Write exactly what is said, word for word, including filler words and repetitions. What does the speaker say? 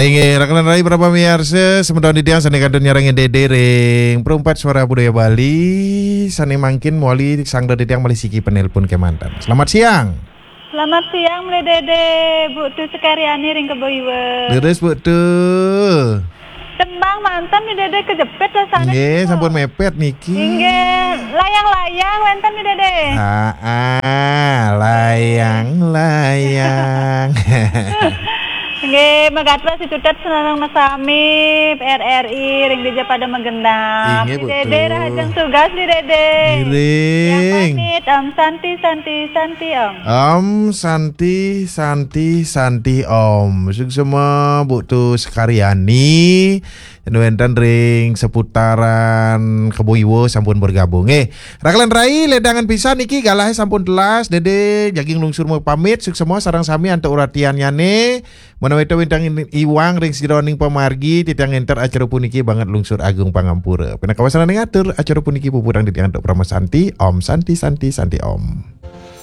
Inggih, rakanan rai para pamiarsa, semeton titiang sané kantun nyarengin Dédé ring Perumpat Suara Budaya Bali, sané mangkin mawali sangda titiang malih siki penelpon kémanten. Selamat siang. Selamat siang, Mlé Dédé, Bu Tu Sekaryani ring Kebo Iwa. Leres, Bu Tu. Tembang manten, Mlé Dédé, kejepit rasané. Nggih, sampun mepet niki. Inggih, layang-layang wénten, Mlé Dédé. Ah, ah, layang-layang. Nggih, magatra situtet sareng sami R R I ring dija pada magenah. Inggih, Mlé Dédé, Bu Tu. Rahajeng tugas, Mlé Dédé. Ngiring. Tiang pamit, Om Santi, Santi, Santi, Om. Om Santi, Santi, Santi, Om. Suksma, Bu Tu Sekaryani. Wénten ring seputaran Kebo Iwa sampun bergabung. Eh, rakanan rai, ledangan pisan niki, galahé sampun telas, Dédé jagi nglungsur mapamit, suksma sareng sami antuk uratiannyané. Ménawi wénten iwang ring sajeroning pamargi, titiang ngénter acara puniki banget lungsur agung pangampura. Pinaka wasananing atur, acara puniki puputang titiang antuk Parama Santi, Om Santi, Santi, Santi, Om.